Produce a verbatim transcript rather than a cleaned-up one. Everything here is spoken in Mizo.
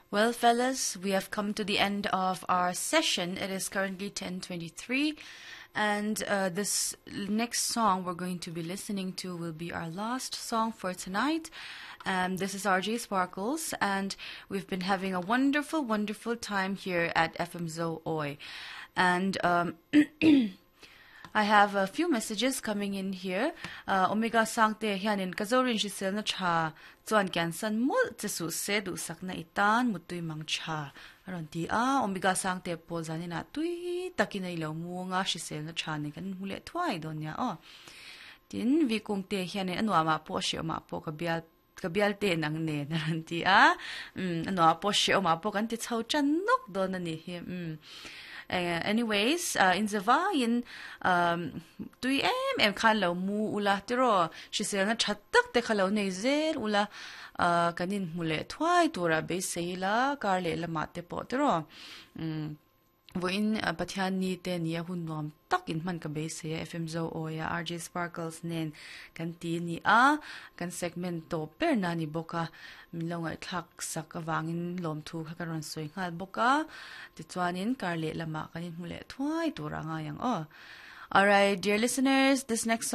Well, fellas, we have come to the end of our session. It is currently ten twenty-three, and uh, this next song we're going to be listening to will be our last song for tonight. Um, this is R J Sparkles, and we've been having a wonderful, wonderful time here at F M Zo Oi. And um, I have a few messages coming in here. Uh, Omega Sangte hianin kazorin hriselna tha chuan kian san mul che su se du sakna itan mutui mang tha aron ti a. Omega Sangte po zanina tui takin ai lo mu nga hriselna tha ni kan hmule thuai don nia o. Tin vi kung te hianin anwa ma po she ma po ka bial ka bial te nang ne naran ti a. Um anwa po she ma po kan ti chho chan nok don ani hi um Uh, anyways, uh, in zawa in um, tui em em khan lo mu ula tiro hrisel na that tak te khalo nei zel ula uh, kanin hmule thuai tura be seila kar le lama te po tiro um, voin uh, Pathian ni te ni a hun nuam tak in man ka be se F M Zo Oya R J Sparkles nen kan ti ni a kan segment to per na ni boka min lo ngai thak sak awangin lom thu kha kan ron soi ngal boka ti chuanin kar le lama kanin hmule thuai tura nga yang o. All right, dear listeners, this next song